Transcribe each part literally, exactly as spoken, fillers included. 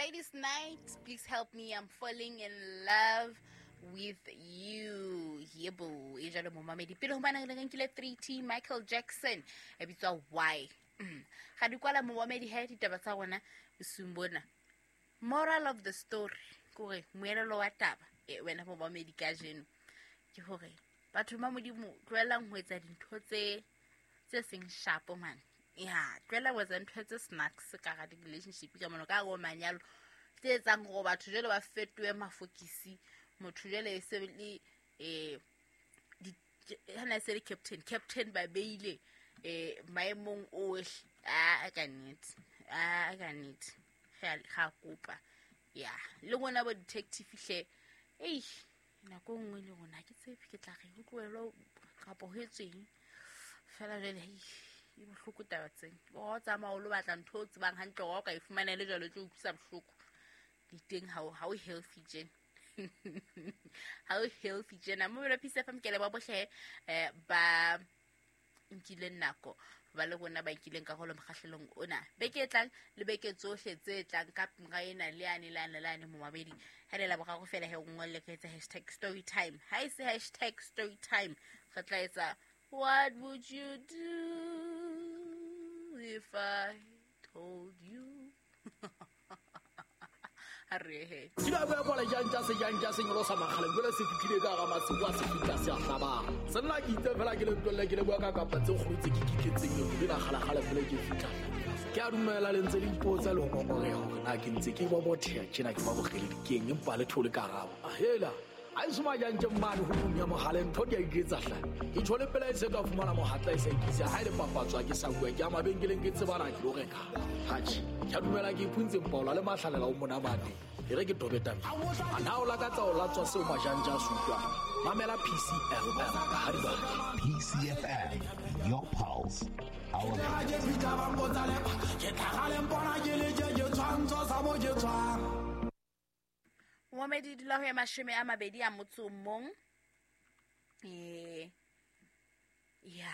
Gladys Knight, please help me, I'm falling in love with you. Yebo, e jalo momamedi. Pele ho bana re nkile three T Michael Jackson e bitswa Why. Ga di kwala momamedi he ditaba tsa rona bosiung bona. Moral of the story kore moelelo wa taba e wena momamedi kajeno ke hore batho ba Modimo tlohelang ho etsa dintho tse tse seng sharp man. Ya, tlohela ho etsa ntho tse snacks ka ga di-relationship ka mono ka go manyalo tse etsang hore batho jwale ba fetohe mafokisi. Motho jwale e se le eh di hana se le captain captain ba beile eh maemong ohle a ka nnete a ka nnete ga ga kopa ya le ngwana bo detective hle ei nako nngwe le rona ke tshepe ke tla re ho tlohelo kapa ho etsweng fela jwale e bohloko taba tseng o tsamaya o lo batla ntho o tsebang hantle hore o ka e fumana le jwalo tlo utlwisa bohloko di teng ha o healthy tjena ha o healthy tjena. Mo Peace F M ke le ba bohle eh ba nkileng nako ba le rona ba nkileng karolo mokgahlelong ona beke e tlang le beke tsohle tse tlang ka mora ena le ane le ane le ane momamedi ha le la boraro fela he o ngolle ka etsa hashtag story time. Ha e se hashtag story time re tla etsa what would you do if I told you. Arre ke ba bua bola jang tsa se jang tsa sengolo sa makgale jole se fitlile ka ga masibu a se fitla se a hlabang senna ke itse fela ke le tlolle ke le bua ka kapa tse kgolo tse ke kitletseng le la kgala kgala fela ke fitla ke a dumela le ntse le ipotsa le ngongore hore na ke ntse ke ba bothea tjena ke ba bogele dikeng empa le thole ka rabo hela a isuma jang tje mmane ho bunya mohale ntho di a iketsa hla ke tshole pela e se ka fumana mohatla e sa ikisa ha ile papatswa ke sa bua ke a mabenkeleng ke tsebana ke lo reka hatjhe ke a dumela ke ipuntse mpaola le mahlalela o monamane e re ke tobeta a na o lakatsa o latswa seo majanja a sutlwang mamela P C F M ha di ba P C F M, your pulse, our ke fitla ba mpotsa le ke tlhagale mpona ke le je ke tshwantso sa mo ke tshwang. Momamedi dula ho ya mashome a mabedi a motso mong. Eh ya.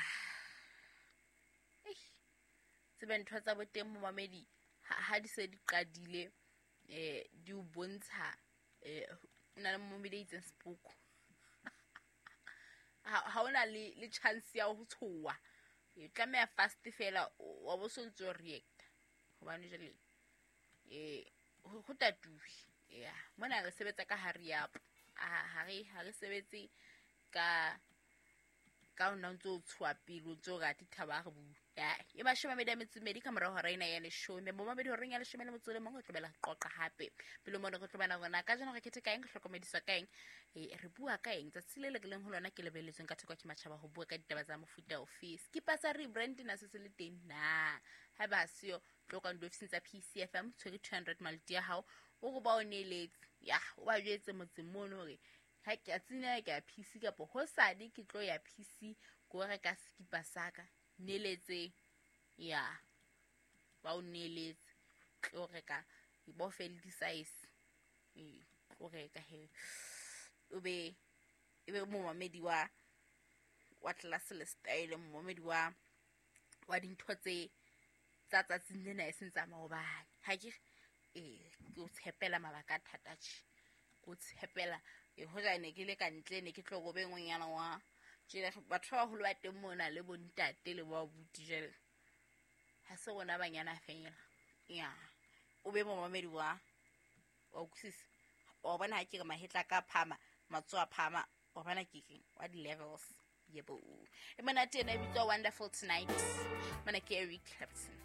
Eh tsebe ntho tsa boteng momamedi ha di se di qadile eh di o bontsha eh na le momamedi a itseng sepoko. Ha hona le le chance ya ho tshoa. E tlameha fast fela wa bo so ntso react. Hobane jwale eh ho tatuwe. Yeah, mona re sebetsa ka hurry up. Ha re ha re sebetse ka ka ona ntso tshoa pele o ntso rata thaba re bua. Ya, e mashome a mabedi a metso e mmedi ka morao hora ena ya leshome. Momamedi horeng ya leshome le motso le mong re tlobela qoqa hape. Pele mona re tlobana rona ka jeno re khethe ka eng, re hlokomediswa ka eng, e re bua ka eng. Tsatsi le le leng ho lona ke lebeletsweng ka theko ke matjhaba ho bua ka ditaba tsa mofuta ofe. Skipa sa rebrand na se se le teng na. Ha ba seo tlo ka ofising tsa P C F M tshwere two hundred maluti ya hao o go ba o neletse. Ya, o ba jwetse motseng mono hore ha ke a tsina ke ya P C kapo ho sadi ke tlo ya P C ko reka skipa saka neletse. Ya, ba o neletse tlo reka bo fele di size e tlo reka he o be e be momamedi wa wa class le style momamedi wa wa dintho tse tsa tsatsing lena e seng tsa maobane. Ha ke eh ke o tshepela mabaka a thata tjhe ke o tshepela e hoja ne ke le ka ntle ne ke tlo go be ngwenyana wa tjela batho ba baholo ba teng mona le bontate le ba buti jwale ha se rona banyana fela. Ya, o be momamedi wa wa utlwisisa wa bona ha ke re mahetla ka phama matsoho a phama wa bona ke keng wa di levels. Yebo, e monate ena e bitswa Wonderful Tonight. Mona ke Eric Clapton.